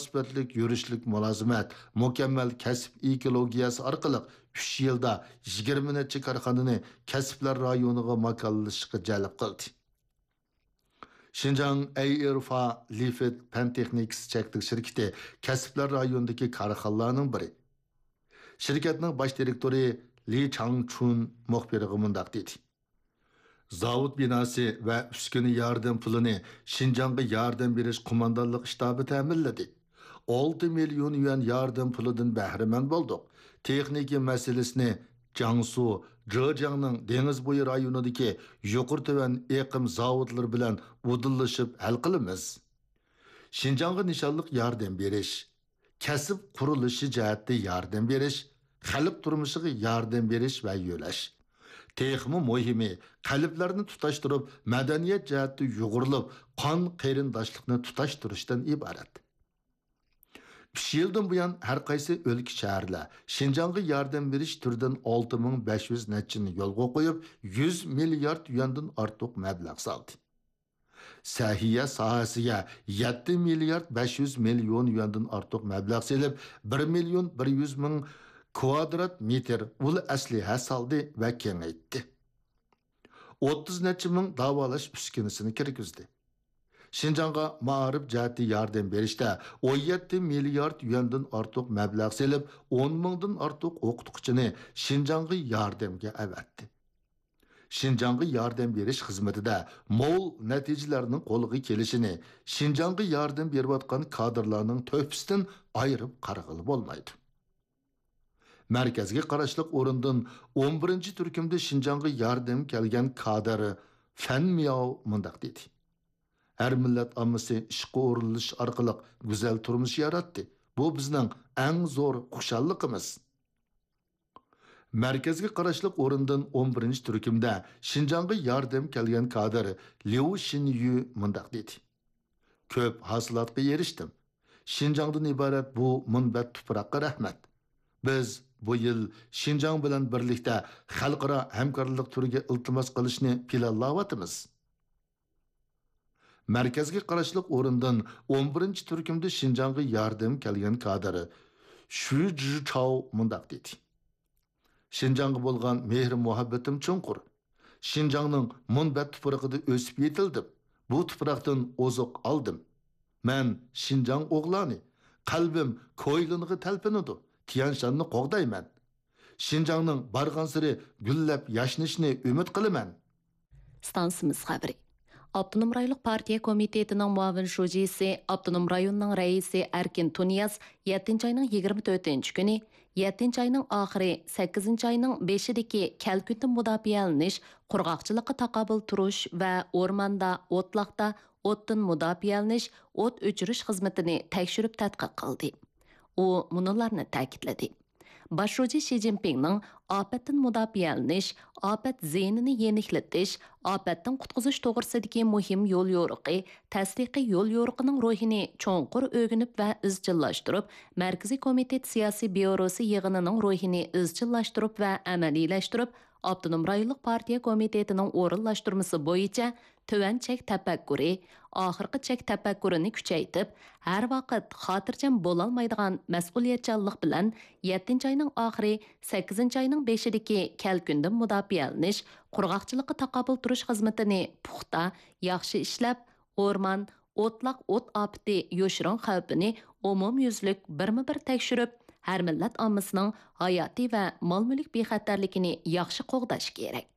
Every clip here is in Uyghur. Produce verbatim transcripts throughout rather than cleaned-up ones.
سۇپەتلىك يۈرۈشلۈك مۇلازىمەت، مۇكەممەل كەسىپ ئېكولوگىيەسى ئارقىلىق ئۈچ يىلدا يىگىرمە نەچچە كارخانىنى كەسىپلەر رايونىغا ماكانلىشىشقا جەلپ قىلدى. شىنجاڭ ئەيئېرفا لىفىت پەن تېخنىكىسى چەكلىك شىركىتى كەسىپلەر رايونىدىكى كارخانىلارنىڭ بىرى. شىركەتنىڭ باش دىرېكتورى لى چاڭچۈن مۇخبىرغا مۇنداق دېدى: زاۋۇت بىناسى ۋە ئۈسكۈنە ياردەم پۇلىنى شىنجاڭغا ياردەم بېرىش قوماندانلىق شتابى تەمىنلىدى. ئالتە مىليون يۈەن ياردەم پۇلىدىن بەھرىمەن بولدۇق. تېخنىكا مەسىلىسىنى جياڭسۇ، جېجياڭنىڭ دېڭىز بويى رايونىدىكى يۇقىرى تۆۋەن ئېقىم زاۋۇتلىرى بىلەن ئۇدۇللىشىپ ھەل قىلىمىز. شىنجاڭغا نىشانلىق ياردەم بېرىش، كەسىپ قۇرۇلۇشى جەھەتتە ياردەم بېرىش، خەلق تۇرمۇشىغا ياردەم بېرىش ۋە يۆلەش. تېخىمۇ مۇھىمى، قەلبلەرنى تۇتاشتۇرۇپ، مەدەنىيەت جەھەتتە يۇغۇرۇلۇپ، قان قېرىنداشلىقنى تۇتاشتۇرۇشتىن ئىبارەت. ئۈچ يىلدىن بۇيان، ھەر قايسى ئۆلكە، شەھەرلەر شىنجاڭغا ياردەم بېرىش تۈرىدىن ئالتە مىڭ بەش يۈز نەچچىنى يولغا قويۇپ، يۈز مىليارد يۈەندىن ئارتۇق مەبلەغ سالدى. سەھىيە ساھەسىگە يەتتە مىليارد بەش يۈز مىليون يۈەندىن ئارتۇق مەبلەغ سېلىپ، بىر مىليون بىر يۈز مىڭ كۋادرات مېتىر ئۇل ئەسلىھە سالدى ۋە كېڭەيتتى. ئوتتۇز نەچچە مىڭ داۋالاش ئۈسكۈنىسىنى كىرگۈزدى. شىنجاڭغا مائارىپ جەھەتتە ياردەم بېرىشتە ئون يەتتە مىليارد يۈەندىن ئارتۇق مەبلەغ سېلىپ، ئون مىڭدىن ئارتۇق ئوقۇتقۇچىنى شىنجاڭغا ياردەمگە ئەۋەتتى. شىنجاڭغا ياردەم بېرىش خىزمىتىدە مول نەتىجىلەرنىڭ قولغا كېلىشىنى شىنجاڭغا ياردەم بېرىۋاتقان كادىرلارنىڭ تۆھپىسىدىن ئايرىپ قارىغىلى بولمايدۇ. مەركەزگە قاراشلىق ئورۇندىن ئون بىرىنچى تۈركۈمدە شىنجاڭغا ياردەم كەلگەن كادىر فەن مياۋ مۇنداق دېدى: ھەر مىللەت ئاممىسى ئىشقا ئورۇنلىشىش ئارقىلىق گۈزەل تۇرمۇش ياراتتى. بۇ بىزنىڭ ئەڭ زور خۇشاللىقىمىز. مەركەزگە قاراشلىق ئورۇندىن ئون بىرىنچى تۈركۈمدە شىنجاڭغا ياردەم كەلگەن كادىر ليۇ شىنيۈ مۇنداق دېدى: كۆپ ھاسىلاتقا ئېرىشتىم. شىنجاڭدىن ئىبارەت بۇ مۇنبەت تۇپراققا رەھمەت. بىز بۇ يىل شىنجاڭ بىلەن بىرلىكتە خەلقئارا ھەمكارلىق تۈرىگە ئىلتىماس قىلىشنى پىلانلاۋاتىمىز. مەركەزگە قاراشلىق ئورۇندىن ئون بىرىنچى تۈركۈمدە شىنجاڭغا ياردەم كەلگەن كادىر شۈ جىچاۋ مۇنداق دېدى: شىنجاڭغا بولغان مېھرى-مۇھەببىتىم چوڭقۇر. شىنجاڭنىڭ مۇنبەت تۇپرىقىدا ئۆسۈپ يېتىلدىم. بۇ تۇپراقتىن ئوزۇق ئالدىم. مەن شىنجاڭ ئوغلانى. قەلبىم كويلىنغا تەلپۈنىدۇ. تيەنشاننى قوغدايمەن. شىنجاڭنىڭ بارغانسېرى گۈللەپ ياشنىشىنى ئۈمىد قىلىمەن. ئىستانسىمىز خەۋىرى. ئاپتونوم رايونلۇق پارتىيە كومىتېتىنىڭ مۇئاۋىن شۇجىسى، ئاپتونوم رايوننىڭ رەئىسى ئەركىن تۇنىياز يەتتىنچى ئاينىڭ يىگىرمە تۆتىنچى كۈنى، يەتتىنچى ئاينىڭ ئاخىرى، سەككىزىنچى ئاينىڭ بېشىدىكى كەلكۈندىن مۇداپىئەلىنىش، قۇرغاقچىلىققا تاقابىل تۇرۇش ۋە ئورماندا، ئوتلاقتا ئوتتىن مۇداپىئەلىنىش، ئوت ئۆچۈرۈش خىزمىتىنى تەكشۈرۈپ تەتقىق قىلدى. ئۇ مۇنۇلارنى تەكىتلىدى. باش شۇجى شى جىنپىڭنىڭ ئاپەتتىن مۇداپىئەلىنىش، ئاپەت زىيىنىنى يېنىكلىتىش، ئاپەتتىن قۇتقۇزۇش توغرىسىدىكى مۇھىم يول يورۇقى، تەستىقىي يول يورۇقىنىڭ روھىنى چوڭقۇر ئۆگىنىپ ۋە ئىزچىللاشتۇرۇپ، مەركىزىي كومىتېت سىياسىي بيۇروسى يىغىنىنىڭ روھىنى ئىزچىللاشتۇرۇپ ۋە ئەمەلىيلەشتۈرۈپ، ئاپتونوم رايونلۇق پارتىيە كومىتېتىنىڭ ئورۇنلاشتۇرمىسى بويىچە تۆۋەن چەك تەپەككۇرى، ئاخىرقى چەك تەپەككۇرىنى كۈچەيتىپ، ھەر ۋاقىت خاتىرجەم بولالمايدىغان مەسئۇلىيەتچانلىق بىلەن يەتتىنچى ئاينىڭ ئاخىرى، سەككىزىنچى ئاينىڭ بېشىدىكى كەلكۈندىن مۇداپىئەلىنىش، قۇرغاقچىلىققا تاقابىل تۇرۇش خىزمىتىنى پۇختا، ياخشى ئىشلەپ، ئورمان، ئوتلاق ئوت ئاپىتى يوشۇرۇن خەۋپىنى ئومۇميۈزلۈك بىرمۇ بىر تەكشۈرۈپ، ھەر مىللەت ئاممىسىنىڭ ھاياتىي ۋە مال-مۈلۈك بىخەتەرلىكىنى ياخشى قوغداش كېرەك.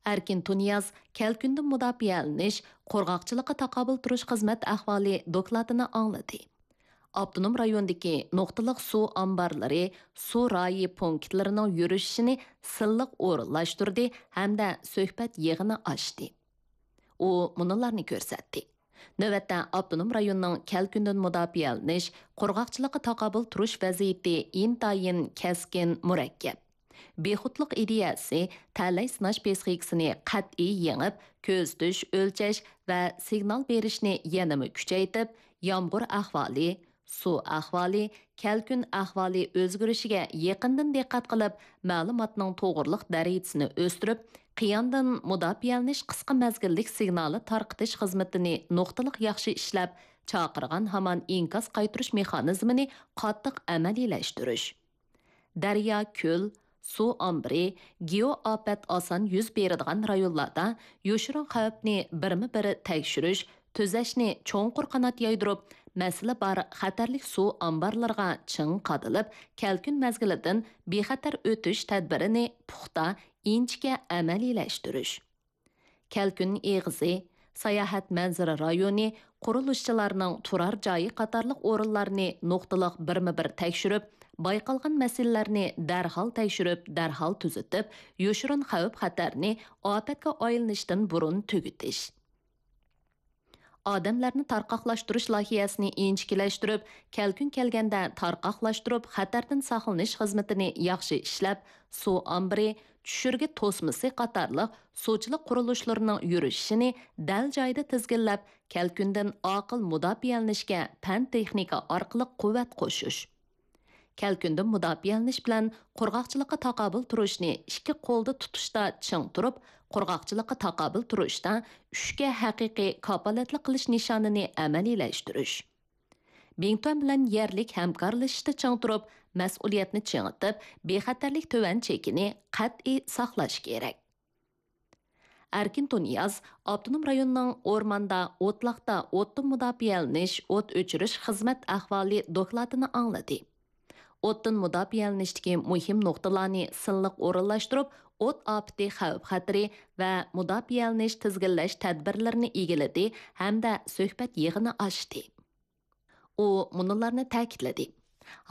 ئەركىن تۇنىياز كەلكۈندىن مۇداپىئەلىنىش، قۇرغاقچىلىققا تاقابىل تۇرۇش خىزمەت ئەھۋالى دوكلاتىنى ئاڭلىدى. ئاپتونوم رايوندىكى نۇقتىلىق سۇ ئامبارلىرى، سۇ رايى پونكىتلىرىنىڭ يۈرۈشۈشىنى سىنلىق ئورۇنلاشتۇردى ھەمدە سۆھبەت يىغىنى ئاچتى. ئۇ مۇنۇلارنى كۆرسەتتى. نۆۋەتتە ئاپتونوم رايوننىڭ كەلكۈندىن مۇداپىئەلىنىش، قۇرغاقچىلىققا تاقابىل تۇرۇش ۋەزىيىتى ئىنتايىن كەسكىن، مۇرەككەپ. بىخۇدلۇق ئىدىيەسى تەلەي سىناش پسىخىكىسىنى قەتئىي يېڭىپ، كۆزىتىش، ئۆلچەش ۋە سىگنال بېرىشنى يەنىمۇ كۈچەيتىپ، يامغۇر ئەھۋالى، سۇ ئەھۋالى، كەلكۈن ئەھۋالى ئۆزگىرىشىگە يېقىندىن دىققەت قىلىپ، مەلۇماتنىڭ توغرىلىق دەرىجىسىنى ئۆستۈرۈپ، قىياندىن مۇداپىئەلىنىش قىسقا مەزگىللىك سىگنالى تارقىتىش خىزمىتىنى نۇقتىلىق ياخشى ئىشلەپ، چاقىرغان ھامان ئىنكاس قايتۇرۇش مېخانىزمىنى قاتتىق ئەمەلىيلەشتۈرۈش. دەريا، كۆل، سۇ ئامبىرى، گېئوئاپەت ئاسان يۈز بېرىدىغان رايونلاردا يوشۇرۇن خەۋپنى بىرمۇ بىر تەكشۈرۈش، تۈزەشنى چوڭقۇر قانات يايدۇرۇپ، مەسىلە بار خەتەرلىك سۇ ئامبارلىرىغا چىڭ قادىلىپ، كەلكۈن مەزگىلىدىن بىخەتەر ئۆتۈش تەدبىرىنى پۇختا، ئىنچىكە ئەمەلىيلەشتۈرۈش. كەلكۈن ئېغىزى، ساياھەت مەنزىرە رايونى، قۇرۇلۇشچىلارنىڭ تۇرار جايى قاتارلىق ئورۇنلارنى نۇقتىلىق بىرمۇ بىر تەكشۈرۈپ، بايقالغان مەسىلىلەرنى دەرھال تەكشۈرۈپ، دەرھال تۈزىتىپ، يوشۇرۇن خەۋپ-خەتەرنى ئاپەتكە ئايلىنىشتىن بۇرۇن تۈگىتىش. ئادەملەرنى تارقاقلاشتۇرۇش لايىھەسىنى ئىنچىكىلەشتۈرۈپ، كەلكۈن كەلگەندە تارقاقلاشتۇرۇپ، خەتەردىن ساقلىنىش خىزمىتىنى ياخشى ئىشلەپ، سۇ ئامبىرى، چۈشۈرگە توسمىسى قاتارلىق سۇچىلىق قۇرۇلۇشلىرىنىڭ يۈرۈشۈشىنى دەل جايىدا تىزگىنلەپ، كەلكۈندىن ئاقىل مۇداپىئەلىنىشكە پەن-تېخنىكا ئارقىلىق قۇۋۋەت قوشۇش. كەلكۈندىن مۇداپىئەلىنىش بىلەن قۇرغاقچىلىققا تاقابىل تۇرۇشنى ئىككى قولدا تۇتۇشتا چىڭ تۇرۇپ، قۇرغاقچىلىققا تاقابىل تۇرۇشتا ئۈچكە ھەقىقىي كاپالەتلىك قىلىش نىشانىنى ئەمەلىيلەشتۈرۈش. بىڭتۈەن بىلەن يەرلىك ھەمكارلىشىشتا چىڭ تۇرۇپ، مەسئۇلىيەتنى چىڭىتىپ، بىخەتەرلىك تۆۋەن چېكىنى قەتئىي ساقلاش كېرەك. ئەركىن تۇنىياز ئاپتونوم رايوننىڭ ئورماندا، ئوتلاقتا ئوتتىن مۇداپىئەلىنىش، ئوت ئۆچۈرۈش خىزمەت ئەھۋالى دوكلاتىنى ئاڭلىدى. ئوتتىن مۇداپىئەلىنىشتىكى مۇھىم نۇقتىلارنى سىنلىق ئورۇنلاشتۇرۇپ، ئوت ئاپىتى خەۋپ-خەتىرى ۋە مۇداپىئەلىنىش تىزگىنلەش تەدبىرلىرىنى ئىگىلىدى ھەمدە سۆھبەت يىغىنى ئاچتى. ئۇ مۇنۇلارنى تەكىتلىدى: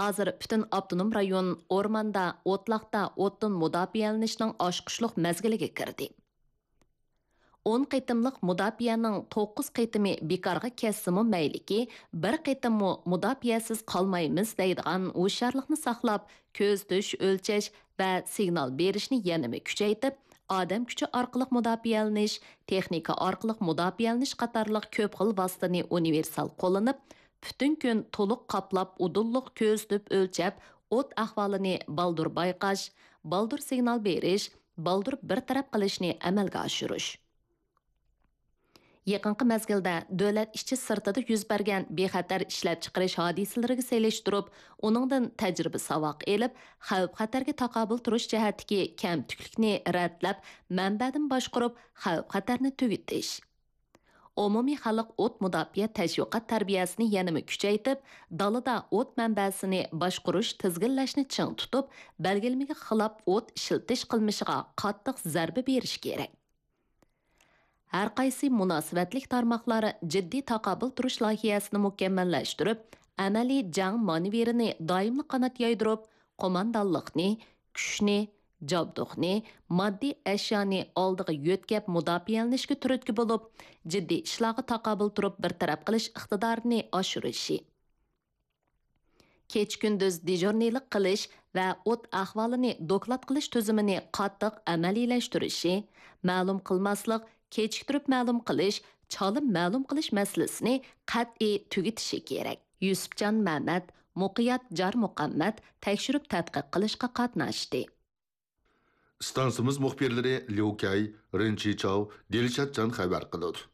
ھازىر پۈتۈن ئاپتونوم رايون ئورماندا، ئوتلاقتا ئوتتىن مۇداپىئەلىنىشنىڭ ئاچقۇچلۇق مەزگىلىگە كىردى. ئون قېتىملىق مۇداپىئەنىڭ توققۇز قېتىمى بىكارغا كەتسىمۇ مەيلىكى، بىر قېتىممۇ مۇداپىئەسىز قالمايمىز دەيدىغان ھوشيارلىقنى ساقلاپ، كۆزىتىش، ئۆلچەش ۋە سىگنال بېرىشنى يەنىمۇ كۈچەيتىپ، ئادەم كۈچى ئارقىلىق مۇداپىئەلىنىش، تېخنىكا ئارقىلىق مۇداپىئەلىنىش قاتارلىق كۆپ خىل ۋاسىتىنى ئۇنىۋېرسال قوللىنىپ، پۈتۈن كۈن تولۇق قاپلاپ، ئۇدۇللۇق كۆزىتىپ ئۆلچەپ، ئوت ئەھۋالىنى بالدۇر بايقاش، بالدۇر سىگنال بېرىش، بالدۇر بىر تەرەپ قىلىشنى ئەمەلگە ئاشۇرۇش. يېقىنقى مەزگىلدە دۆلەت ئىچى سىرتىدا يۈز بەرگەن بىخەتەر ئىشلەپچىقىرىش ھادىسىلىرىگە سېلىشتۇرۇپ، ئۇنىڭدىن تەجرىبە-ساۋاق ئېلىپ، خەۋپ-خەتەرگە تاقابىل تۇرۇش جەھەتتىكى كەمتۈكلۈكنى رەتلەپ، مەنبەدىن باشقۇرۇپ، خەۋپ-خەتەرنى تۈگىتىش. ئومۇمىي خەلق ئوت مۇداپىئە تەشۋىقات تەربىيەسىنى يەنىمۇ كۈچەيتىپ، دالىدا ئوت مەنبەسىنى باشقۇرۇش، تىزگىنلەشنى چىڭ تۇتۇپ، بەلگىلىمىگە خىلاپ ئوت ئىشلىتىش قىلمىشىغا قاتتىق زەربە بېرىش كېرەك. ھەرقايسى مۇناسىۋەتلىك تارماقلار جىددىي تاقابىل تۇرۇش لايىھەسىنى مۇكەممەللەشتۈرۈپ، ئەمەلىي جەڭ مانېۋىرىنى دائىملىق قانات يايدۇرۇپ، قوماندانلىقنى، كۈچنى، جابدۇقنى، ماددىي ئەشيانى ئالدىغا يۆتكەپ مۇداپىئەلىنىشكە تۈرتكە بولۇپ، جىددىي ئىشلارغا تاقابىل تۇرۇپ بىر تەرەپ قىلىش ئىقتىدارىنى ئاشۇرۇشى. كېچە-كۈندۈز دېژۇرنىلىق قىلىش ۋە ئوت ئەھۋالىنى دوكلات قىلىش تۈزۈمىنى قاتتىق ئەمەلىيلەشتۈرۈشى، مەلۇم قىلماسلىق، كېچىكتۈرۈپ مەلۇم قىلىش، چالا مەلۇم قىلىش مەسىلىسىنى قەتئىي تۈگىتىشى كېرەك. يۈسۈپجان مەمەت، مۇقىيات جارمۇقەممەت تەكشۈرۈپ تەتقىق قىلىشقا قاتناشتى. ئىستانسىمىز مۇخبىرلىرى ليۇ كەي، رېن چىچاۋ، دىلشاتجان خەۋەر قىلىدۇ.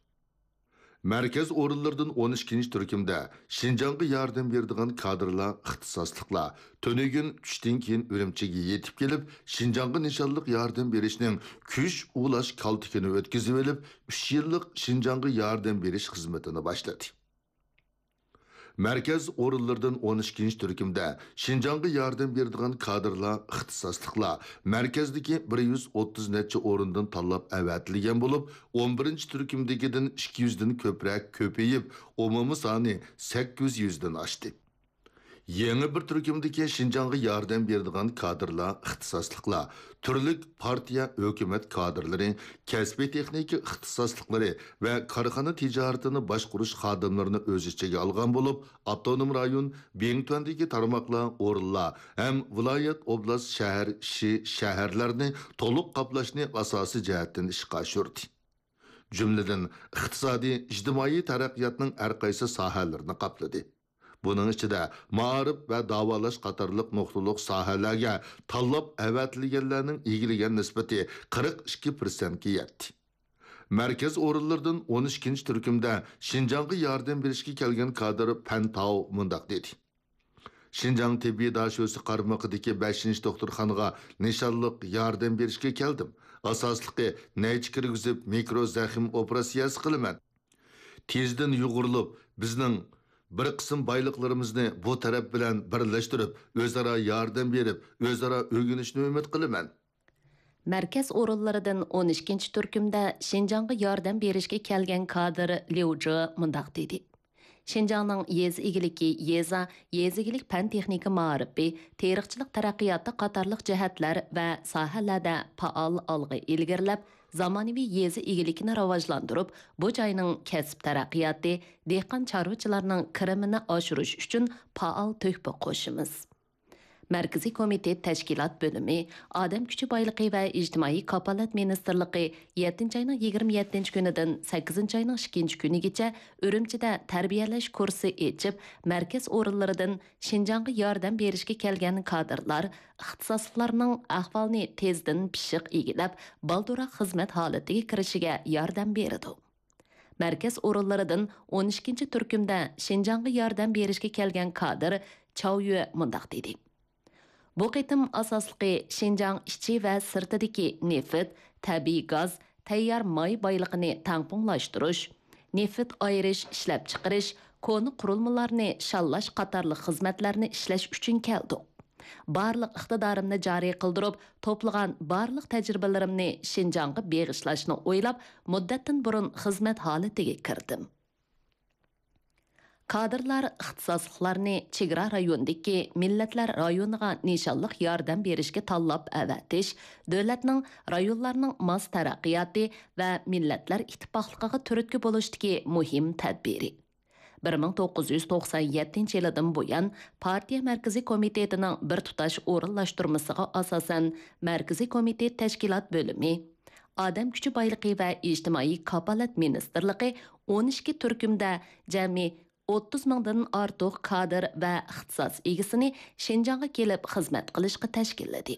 مەركەز ئورۇنلىرىدىن ئون ئىككىنچى تۈركۈمدە شىنجاڭغا ياردەم بېرىدىغان كادىرلار، ئىختىساسلىقلار تۈنۈگۈن چۈشتىن كېيىن ئۈرۈمچىگە يېتىپ كېلىپ، شىنجاڭغا نىشانلىق ياردەم بېرىشنىڭ كۈچ ئۇلاش كالتىكىنى ئۆتكۈزۈۋېلىپ، ئۈچ يىللىق شىنجاڭغا ياردەم بېرىش خىزمىتىنى باشلىدى. مەركەز ئورۇنلىرىدىن ئون ئىككىنچى تۈركۈمدە شىنجاڭغا ياردەم بېرىدىغان كادىرلار، ئىختىساسلىقلار مەركەزدىكى بىر يۈز ئوتتۇز نەچچە ئورۇندىن تاللاپ ئەۋەتىلگەن بولۇپ، ئون بىرىنچى تۈركۈمدىكىدىن ئىككى يۈزدىن كۆپرەك كۆپىيىپ، ئومۇمىي سانى سەككىز يۈزدىن ئاشتى. يېڭى بىر تۈركۈمدىكى شىنجاڭغا ياردەم بېرىدىغان كادىرلار، ئىختىساسلىقلار تۈرلۈك پارتىيە، ھۆكۈمەت كادىرلىرى، كەسپىي تېخنىكا ئىختىساسلىقلىرى ۋە كارخانا تىجارىتىنى باشقۇرۇش خادىملىرىنى ئۆز ئىچىگە ئالغان بولۇپ، ئاپتونوم رايون، بىڭتۈەندىكى تارماقلار، ئورۇنلار ھەم ۋىلايەت، ئوبلاست، شەھەر، شى، شەھەرلەرنى تولۇق قاپلاشنى ئاساسىي جەھەتتىن ئىشقا ئاشۇردى. جۈملىدىن، ئىقتىسادىي، ئىجتىمائىي تەرەققىياتنىڭ ھەر قايسى ساھەلىرىنى قاپلىدى. بۇنىڭ ئىچىدە، مائارىپ ۋە داۋالاش قاتارلىق نۇقتىلىق ساھەلەرگە تاللاپ ئەۋەتىلگەنلەرنىڭ ئىگىلىگەن نىسبىتى قىرىق ئىككى پىرسەنتكە يەتتى. مەركەز ئورۇنلىرىدىن ئون ئىككىنچى تۈركۈمدە شىنجاڭغا ياردەم بېرىشكە كەلگەن كادىر پەن تاۋ مۇنداق دېدى: شىنجاڭ تېببىي داشۆسى قارمىقىدىكى بەشىنچى دوختۇرخانىغا نىشانلىق ياردەم بېرىشكە كەلدىم. ئاساسلىقى نەيچە كىرگۈزۈپ، مىكرو زەخىم ئوپېراتسىيەسى قىلىمەن. تېزدىن يۇغۇرۇلۇپ، بىزنىڭ بىر قىسىم بايلىقلىرىمىزنى بۇ تەرەپ بىلەن بىرلەشتۈرۈپ، ئۆزئارا ياردەم بېرىپ، ئۆزئارا ئۆگىنىشنى ئۈمىد قىلىمەن. مەركەز ئورۇنلىرىدىن ئون ئىككىنچى تۈركۈمدە شىنجاڭغا ياردەم بېرىشكە كەلگەن كادىر ليۇ جې مۇنداق دېدى: شىنجاڭنىڭ يېزا ئىگىلىكى، يېزا، يېزا ئىگىلىك پەن تېخنىكا مائارىپى، تېرىقچىلىق تەرەققىياتى قاتارلىق جەھەتلەر ۋە ساھەلەردە پائال ئالغا ئىلگىرىلەپ، زامانىۋى يېزا ئىگىلىكىنى راۋاجلاندۇرۇپ، بۇ جاينىڭ كەسىپ تەرەققىياتى، دېھقان چارۋىچىلارنىڭ كىرىمىنى ئاشۇرۇش ئۈچۈن پائال تۆھپە قوشىمىز. مەركىزىي كومىتېت تەشكىلات بۆلۈمى، ئادەم كۈچى بايلىقى ۋە ئىجتىمائىي كاپالەت مىنىستىرلىقى يەتتىنچى ئاينىڭ يىگىرمە يەتتىنچى كۈنىدىن سەككىزىنچى ئاينىڭ ئىككىنچى كۈنىگىچە ئۈرۈمچىدە تەربىيەلەش كۇرسى ئېچىپ، مەركەز ئورۇنلىرىدىن شىنجاڭغا ياردەم بېرىشكە كەلگەن كادىرلار، ئىختىساسلىقلارنىڭ ئەھۋالنى تېزدىن پىششىق ئىگىلەپ، بالدۇرراق خىزمەت ھالىتىگە كىرىشىگە ياردەم بېرىدۇ. مەركەز ئورۇنلىرىدىن ئون ئىككىنچى تۈركۈمدە شىنجاڭغا ياردەم بېرىشكە كەلگەن كادىر چاۋ يۈە مۇنداق دېدى: بۇ قېتىم ئاساسلىقى شىنجاڭ ئىچى ۋە سىرتىدىكى نېفىت، تەبىئىي گاز، تەييار ماي بايلىقىنى تەڭپۇڭلاشتۇرۇش، نېفىت ئايرىش، ئىشلەپچىقىرىش، كونا قۇرۇلمىلارنى شاللاش قاتارلىق خىزمەتلەرنى ئىشلەش ئۈچۈن كەلدۇق. بارلىق ئىقتىدارىمنى جارى قىلدۇرۇپ، توپلىغان بارلىق تەجرىبىلىرىمنى شىنجاڭغا بېغىشلاشنى ئويلاپ، مۇددەتتىن بۇرۇن خىزمەت ھالىتىگە كىردىم. كادىرلار ئىختىساسلىقلارنى چېگرا رايوندىكى مىللەتلەر رايونىغا نىشانلىق ياردەم بېرىشكە تاللاپ ئەۋەتىش، دۆلەتنىڭ، رايونلارنىڭ ماس تەرەققىياتى ۋە مىللەتلەر ئىتتىپاقلىقىغا تۈرتكە بولۇشتىكى مۇھىم تەدبىرى. بىر مىڭ توققۇز يۈز توقسان يەتتىنچى يىلىدىن بۇيان، پارتىيە مەركىزىي كومىتېتىنىڭ بىر تۇتاش ئورۇنلاشتۇرمىسىغا ئاساسەن، مەركىزىي كومىتېت تەشكىلات بۆلۈمى، ئادەم كۈچى بايلىقى ۋە ئىجتىمائىي كاپالەت مىنىستىرلىقى ئون ئىككى تۈركۈمدە جەمئىي ئوتتۇز مىڭدىن ئارتۇق كادىر ۋە ئىختىساس ئىگىسىنى شىنجاڭغا كېلىپ خىزمەت قىلىشقا تەشكىللىدى.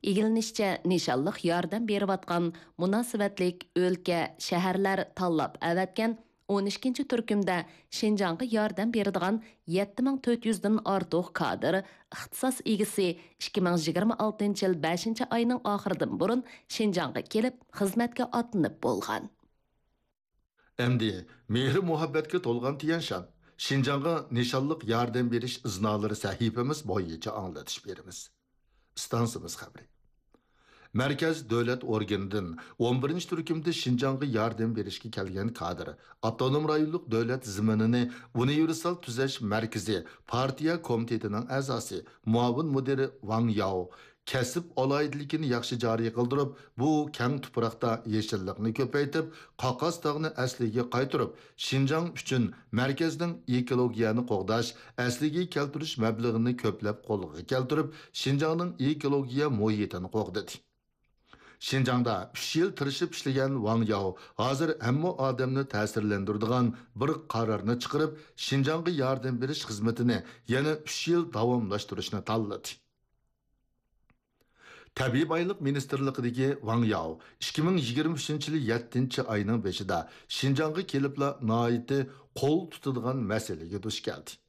ئىگىلىنىشىچە، نىشانلىق ياردەم بېرىۋاتقان مۇناسىۋەتلىك ئۆلكە، شەھەرلەر تاللاپ ئەۋەتكەن ئون ئىككىنچى تۈركۈمدە شىنجاڭغا ياردەم بېرىدىغان يەتتە مىڭ تۆت يۈزدىن ئارتۇق كادىر، ئىختىساس ئىگىسى ئىككى مىڭ يىگىرمە ئالتىنچى يىل بەشىنچى ئاينىڭ ئاخىرىدىن بۇرۇن شىنجاڭغا كېلىپ خىزمەتكە ئاتلىنىپ بولغان. ئەمدى مېھرى-مۇھەببەتكە تولغان تيەنشان، شىنجاڭغا نىشانلىق ياردەم بېرىش ئىزنالىرى سەھىپىمىز بويىچە ئاڭلىتىش بېرىمىز. ئىستانسىمىز خەۋىرى. مەركەز دۆلەت ئورگىنىدىن ئون بىرىنچى تۈركۈمدە شىنجاڭغا ياردەم بېرىشكە كەلگەن كادىر، ئاپتونوم رايونلۇق دۆلەت زېمىنىنى ئۇنىۋېرسال تۈزەش مەركىزى پارتىيە كومىتېتىنىڭ ئەزاسى، مۇئاۋىن مۇدىرى ۋاڭ ياۋ، كەسىپ ئالاھىدىلىكىنى ياخشى جارى قىلدۇرۇپ، بۇ كەڭ تۇپراقتا يېشىللىقنى كۆپەيتىپ، قاقاس تاغنى ئەسلىگە قايتۇرۇپ، شىنجاڭ ئۈچۈن مەركەزنىڭ ئېكولوگىيەنى قوغداش، ئەسلىگە كەلتۈرۈش مەبلىغىنى كۆپلەپ قولغا كەلتۈرۈپ، شىنجاڭنىڭ ئېكولوگىيە مۇھىتىنى قوغدىدى. شىنجاڭدا ئۈچ يىل تىرىشىپ ئىشلىگەن ۋاڭ ياۋ ھازىر ھەممە ئادەمنى تەسىرلەندۈرىدىغان بىر قارارنى چىقىرىپ، شىنجاڭغا ياردەم بېرىش خىزمىتىنى يەنە ئۈچ يىل داۋاملاشتۇرۇشنى تاللىدى. تەبىئىي بايلىق مىنىستىرلىقىدىكى ۋاڭ ياۋ ئىككى مىڭ يىگىرمە ئۈچىنچى يىلى يەتتىنچى ئاينىڭ بېشىدا شىنجاڭغا كېلىپلا ناھايىتى قول تۇتىدىغان مەسىلىگە دۇچ كەلدى.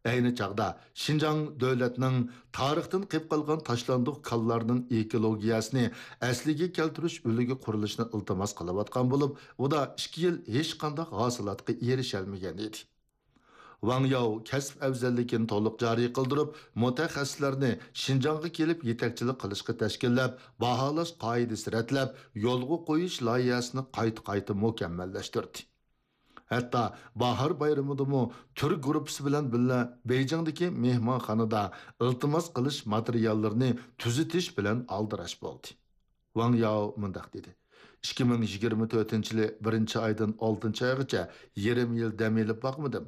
ئەينى چاغدا شىنجاڭ دۆلەتنىڭ تارىختىن قېلىپ قالغان تاشلاندۇق كانلارنىڭ ئېكولوگىيەسىنى ئەسلىگە كەلتۈرۈش ئۈلگە قۇرۇلۇشىنى ئىلتىماس قىلىۋاتقان بولۇپ، ئۇدا ئىككى يىل ھېچقانداق ھاسىلاتقا ئېرىشەلمىگەن ئىدى. ۋاڭ ياۋ كەسىپ ئەۋزەللىكىنى تولۇق جارى قىلدۇرۇپ، مۇتەخەسسىسلەرنى شىنجاڭغا كېلىپ يېتەكچىلىك قىلىشقا تەشكىللەپ، باھالاش قائىدىسى رەتلەپ، يولغا قويۇش لايىھەسىنى قايتا-قايتا مۇكەممەللەشتۈردى. ھەتتا باھار بايرىمىدىمۇ تۈر گۇرۇپپىسى بىلەن بىللە بېيجىڭدىكى مېھمانخانىدا ئىلتىماس قىلىش ماتېرىياللىرىنى تۈزىتىش بىلەن ئالدىراش بولدى. ۋاڭ ياۋ مۇنداق دېدى: ئىككى مىڭ يىگىرمە تۆتىنچى يىلى بىرىنچى ئايدىن ئالتىنچى ئايغىچە يېرىم يىل دەم ئېلىپ باقمىدىم.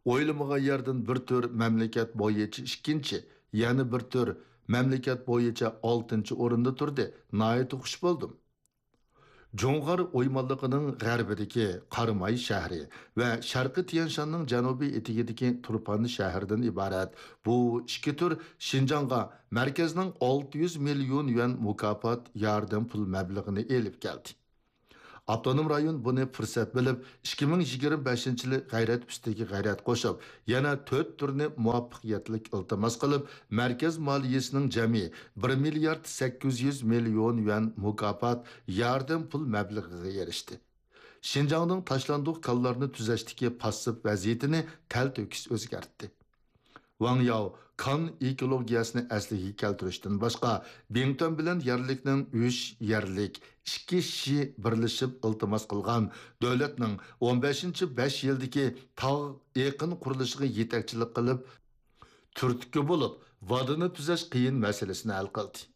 ئويلىمىغان يەردىن بىر تۈر مەملىكەت بويىچە ئىككىنچى، يەنە بىر تۈر مەملىكەت بويىچە ئالتىنچى ئورۇندا تۇردى. ناھايىتى خۇش بولدۇم. جۇڭغار ئويمانلىقىنىڭ غەربىدىكى قاراماي شەھىرى ۋە شەرقىي تيەنشاننىڭ جەنۇبىي ئېتىكىدىكى تۇرپان شەھىرىدىن ئىبارەت بۇ ئىككى تۈر شىنجاڭغا مەركەزنىڭ ئالتە يۈز مىليون يۈەن مۇكاپات ياردەم پۇل مەبلىغىنى ئېلىپ كەلدى. ئاپتونوم رايون بۇنى پۇرسەت بىلىپ، ئىككى مىڭ يىگىرمە بەشىنچى يىلى غەيرەت ئۈستىگە غەيرەت قوشۇپ، يەنە تۆت تۈرنى مۇۋەپپەقىيەتلىك ئىلتىماس قىلىپ، مەركەز مالىيىسىنىڭ جەمئىي بىر مىليارد سەككىز يۈز مىليون يۈەن مۇكاپات ياردەم پۇل مەبلىغىگە ئېرىشتى. شىنجاڭنىڭ تاشلاندۇق كانلارنى تۈزەشتىكى پاسسىپ ۋەزىيىتىنى تەلتۆكۈس ئۆزگەرتتى. ۋاڭ ياۋ كان ئېكولوگىيەسىنى ئەسلىگە كەلتۈرۈشتىن باشقا، بىڭتۈەن بىلەن يەرلىكنىڭ ئۈچ يەرلىك، ئىككى شى بىرلىشىپ ئىلتىماس قىلغان دۆلەتنىڭ ئون بەشىنچى بەش يىلدىكى تاغ ئېقىن قۇرۇلۇشىغا يېتەكچىلىك قىلىپ، تۈرتكە بولۇپ، ۋادىنى تۈزەش قىيىن مەسىلىسىنى ھەل قىلدى.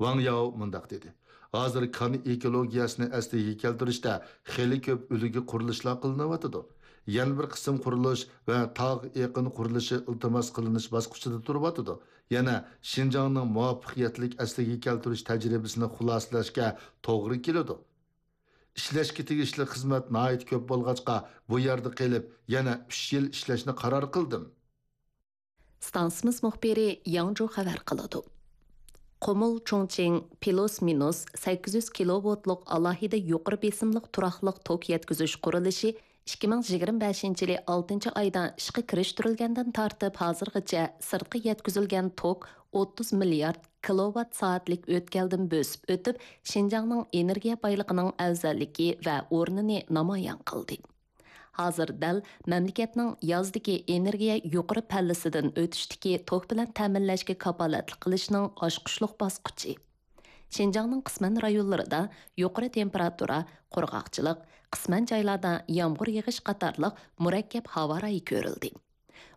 ۋاڭ ياۋ مۇنداق دېدى: ھازىر كان ئېكولوگىيەسىنى ئەسلىگە كەلتۈرۈشتە خېلى كۆپ ئۈلگە قۇرۇلۇشلار قىلىنىۋاتىدۇ. يەنە بىر قىسىم قۇرۇلۇش ۋە تاغ ئېقىن قۇرۇلۇشى ئىلتىماس قىلىنىش باسقۇچىدا تۇرۇۋاتىدۇ. يەنە شىنجاڭنىڭ مۇۋەپپەقىيەتلىك ئەسلىگە كەلتۈرۈش تەجرىبىسىنى خۇلاسىلەشكە توغرا كېلىدۇ. ئىشلەشكە تېگىشلىك خىزمەت ناھايىتى كۆپ بولغاچقا، بۇ يەردە قېلىپ، يەنە ئۈچ يىل ئىشلەشنى قارار قىلدىم. ئىستانسىمىز مۇخبىرى ياڭجۇ خەۋەر قىلىدۇ. قۇمۇل چۇڭچىڭ پلۇس مىنۇس سەككىز يۈز كىلوۋولتلۇق ئالاھىدە يۇقىرى بېسىملىق تۇراقلىق توك يەتكۈزۈش قۇرۇلۇشى ئىككى مىڭ يىگىرمە بەشىنچى يىلى ئالتىنچى ئايدا ئىشقا كىرىشتۈرۈلگەندىن تارتىپ ھازىرغىچە سىرتقا يەتكۈزۈلگەن توك ئوتتۇز مىليارد كىلوۋات سائەتلىك ئۆتكەلدىن بۆسۈپ ئۆتۈپ، شىنجاڭنىڭ ئېنېرگىيە بايلىقىنىڭ ئەۋزەللىكى ۋە ئورنىنى نامايان قىلدى. ھازىر دەل مەملىكەتنىڭ يازدىكى ئېنېرگىيە يۇقىرى پەللىسىدىن ئۆتۈشتىكى توك بىلەن تەمىنلەشكە كاپالەتلىك قىلىشنىڭ ئاچقۇچلۇق باسقۇچى. شىنجاڭنىڭ قىسمەن رايونلىرىدا يۇقىرى تېمپېراتۇرا، قۇرغاقچىلىق، قىسمەن جايلاردا يامغۇر يېغىش قاتارلىق مۇرەككەپ ھاۋا رايى كۆرۈلدى.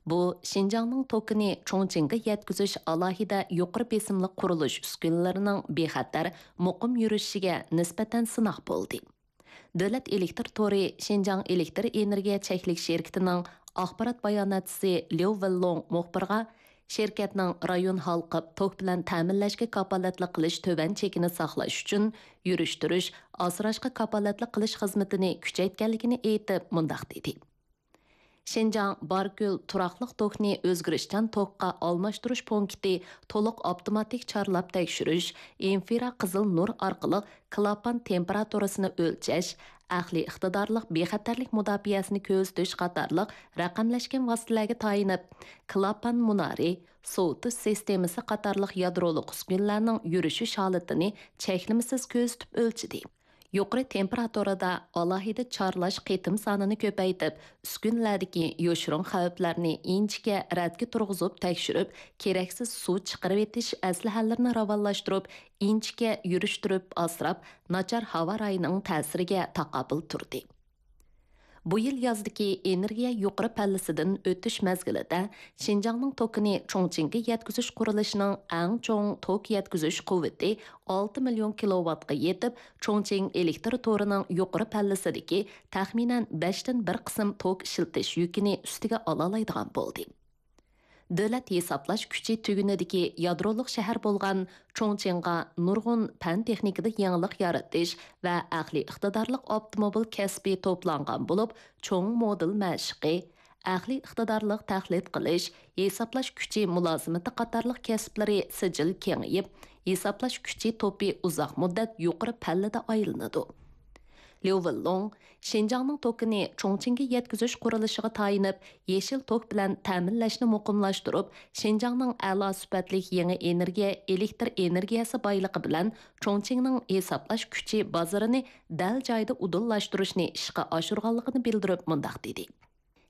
بۇ شىنجاڭنىڭ توكىنى چۇڭچىڭغا يەتكۈزۈش ئالاھىدە يۇقىرى بېسىملىق قۇرۇلۇش ئۈسكۈنىلىرىنىڭ بىخەتەر، مۇقىم يۈرۈشۈشىگە نىسبەتەن سىناق بولدى. دۆلەت ئېلېكتىر تورى شىنجاڭ ئېلېكتىر ئېنېرگىيە چەكلىك شىركىتىنىڭ ئاخبارات باياناتچىسى ليۇ ۋېنلوڭ مۇخبىرغا، شىركەتنىڭ رايون ھالقىپ توك بىلەن تەمىنلەشكە كاپالەتلىك قىلىش تۆۋەن چېكىنى ساقلاش ئۈچۈن يۈرۈشتۈرۈش، ئاسراشقا كاپالەتلىك قىلىش خىزمىتىنى كۈچەيتكەنلىكىنى ئېيتىپ، مۇنداق دېدى: شىنجاڭ باركۆل تۇراقلىق توكنى ئۆزگىرىشچان توكقا ئالماشتۇرۇش پونكىتى تولۇق ئاپتوماتىك چارلاپ تەكشۈرۈش، ئىنفرا قىزىل نۇر ئارقىلىق كلاپان تېمپېراتۇرىسىنى ئۆلچەش، ئەقلىي ئىقتىدارلىق بىخەتەرلىك مۇداپىئەسىنى كۆزىتىش قاتارلىق رەقەملەشكەن ۋاسىتىلەرگە تايىنىپ، كلاپان مۇنارى، سوۋۇتۇش سىستېمىسى قاتارلىق يادرولۇق ئۈسكۈنىلەرنىڭ يۈرۈشۈش ھالىتىنى چەكلىمىسىز كۆزىتىپ ئۆلچىدى. يۇقىرى تېمپېراتۇرىدا ئالاھىدە چارلاش قېتىم سانىنى كۆپەيتىپ، ئۈسكۈنىلەردىكى يوشۇرۇن خەۋپلەرنى ئىنچىكە رەتكە تۇرغۇزۇپ تەكشۈرۈپ، كېرەكسىز سۇ چىقىرىۋېتىش ئەسلىھەلىرىنى راۋانلاشتۇرۇپ، ئىنچىكە يۈرۈشتۈرۈپ ئاسراپ، ناچار ھاۋا رايىنىڭ تەسىرىگە تاقابىل تۇردى. بۇ يىل يازدىكى ئېنېرگىيە يۇقىرى پەللىسىدىن ئۆتۈش مەزگىلىدە شىنجاڭنىڭ توكىنى چۇڭچىڭگە يەتكۈزۈش قۇرۇلۇشىنىڭ ئەڭ چوڭ توك يەتكۈزۈش قۇۋۋىتى ئالتە مىليون كىلوۋاتقا يېتىپ، چۇڭچىڭ ئېلېكتىر تورىنىڭ يۇقىرى پەللىسىدىكى تەخمىنەن بەشتىن بىر قىسىم توك ئىشلىتىش يۈكىنى ئۈستىگە ئالالايدىغان بولدى. دۆلەت ھېسابلاش كۈچى تۈگۈنىدىكى يادرولۇق شەھەر بولغان چۇڭچىڭغا نۇرغۇن پەن-تېخنىكىدا يېڭىلىق يارىتىش ۋە ئەقلىي ئىقتىدارلىق ئاپتوموبىل كەسپى توپلانغان بولۇپ، چوڭ مودېل مەشىقى، ئەقلىي ئىقتىدارلىق تەقلىد قىلىش، ھېسابلاش كۈچى مۇلازىمىتى قاتارلىق كەسىپلىرى سىجىل كېڭىيىپ، ھېسابلاش كۈچى توپى ئۇزاق مۇددەت يۇقىرى پەللىدە ئايلىنىدۇ. ليۇ ۋېنلوڭ شىنجاڭنىڭ توكىنى چۇڭچىڭگە يەتكۈزۈش قۇرۇلۇشىغا تايىنىپ، يېشىل توك بىلەن تەمىنلەشنى مۇقىملاشتۇرۇپ، شىنجاڭنىڭ ئەلا سۈپەتلىك يېڭى ئېنېرگىيە، ئېلېكتر ئېنېرگىيەسى بايلىقى بىلەن چۇڭچىڭنىڭ ھېسابلاش كۈچى بازىرىنى دەل جايىدا ئۇدۇللاشتۇرۇشنى ئىشقا ئاشۇرغانلىقىنى بىلدۈرۈپ مۇنداق دېدى: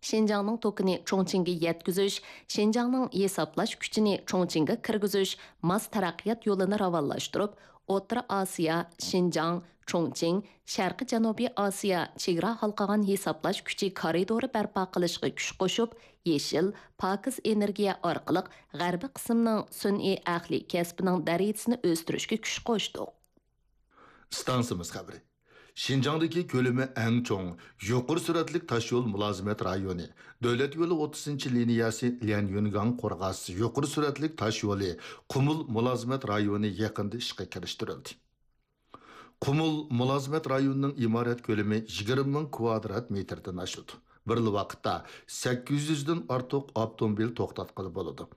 شىنجاڭنىڭ توكىنى چۇڭچىڭگە يەتكۈزۈش، شىنجاڭنىڭ ھېسابلاش كۈچىنى چۇڭچىڭگە كىرگۈزۈش ماس تەرەققىيات يولىنى راۋانلاشتۇرۇپ، ئوتتۇرا ئاسىيا، شىنجاڭ، چۇڭچىڭ، شەرقىي جەنۇبىي ئاسىيا چېگرا ھالقىغان ھېسابلاش كۈچى كارىدورى بەرپا قىلىشقا كۈچ قوشۇپ، يېشىل، پاكىز ئېنېرگىيە ئارقىلىق غەربىي قىسىمنىڭ سۈنئىي ئەقلىي كەسپىنىڭ دەرىجىسىنى ئۆستۈرۈشكە كۈچ قوشتۇق. ئىستانسىمىز خەۋىرى. شىنجاڭدىكى كۆلىمى ئەڭ چوڭ، يۇقىرى سۈرئەتلىك تاشيول مۇلازىمەت رايونى، دۆلەت يولى ئوتتۇزىنچى لىنىيەسى ليەنيۈنگاڭ قورغاس يۇقىرى سۈرئەتلىك تاشيولى قۇمۇل مۇلازىمەت رايونى يېقىندا ئىشقا كىرىشتۈرۈلدى. قۇمۇل مۇلازىمەت رايونىنىڭ ئىمارەت كۆلىمى يىگىرمە مىڭ كۋادرات مېتىردىن ئاشىدۇ. بىرلا ۋاقىتتا سەككىز يۈزدىن ئارتۇق ئاپتوموبىل توختاتقىلى بولىدۇ.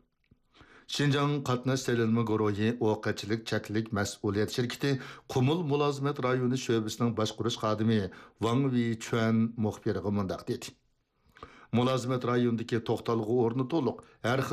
شىنجاڭ قاتناش سېلىنما گۇرۇھى ئوقەتچىلىك چەكلىك مەسئۇلىيەت شىركىتى قۇمۇل مۇلازىمەت رايونى شۆبىسىنىڭ باشقۇرۇش خادىمى ۋاڭ ۋېيچۈەن مۇخبىرغا مۇنداق دېدى: مۇلازىمەت رايونىدىكى توختالغۇ ئورنى تولۇق، ھەر خىل